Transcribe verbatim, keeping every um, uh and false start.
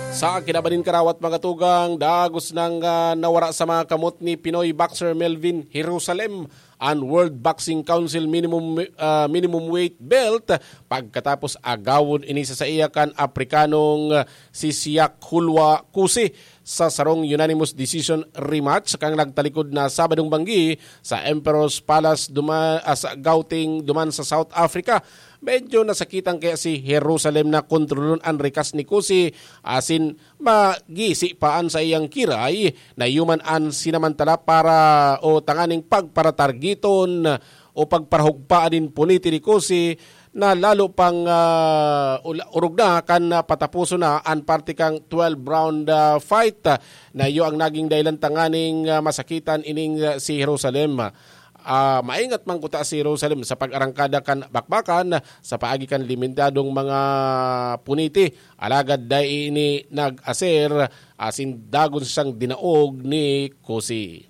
Sa kinabaning karawat, mga tugang, dagos nang ah, nawara sa mga kamot ni Pinoy boxer Melvin Jerusalem an World Boxing Council minimum minimum weight belt pagkatapos agawon ini sa saiya kan Aprikanong si Siak Hulwa Kusi sa sarong unanimous decision rematch kan nagtalikod na Sabadong banggi sa Emperor's Palace duma, ah, sa Gauteng duman sa South Africa. Medyo nasakitan kaya si Jerusalem na kontrolon an rikas ni Kusi asin magisi pa an saiyang kiray na yuman an sinamantala para o tanganing pagparatargiton o pagparahugpaan nin puniti ni Kusi na lalo pang ah, ula- urog na kan ah, patapuson na an parte kang twelve round ah, fight ah, na iyo ang naging dahilan tanganing ah, masakitan ining ah, si Jerusalem. Ah, maingat man kuta si Jerusalem sa pag-arangkada kan bakbakan sa paagi kan limitadong mga puniti, alagad dai ini nag-aser asin dagon siyang dinaog ni Kusi.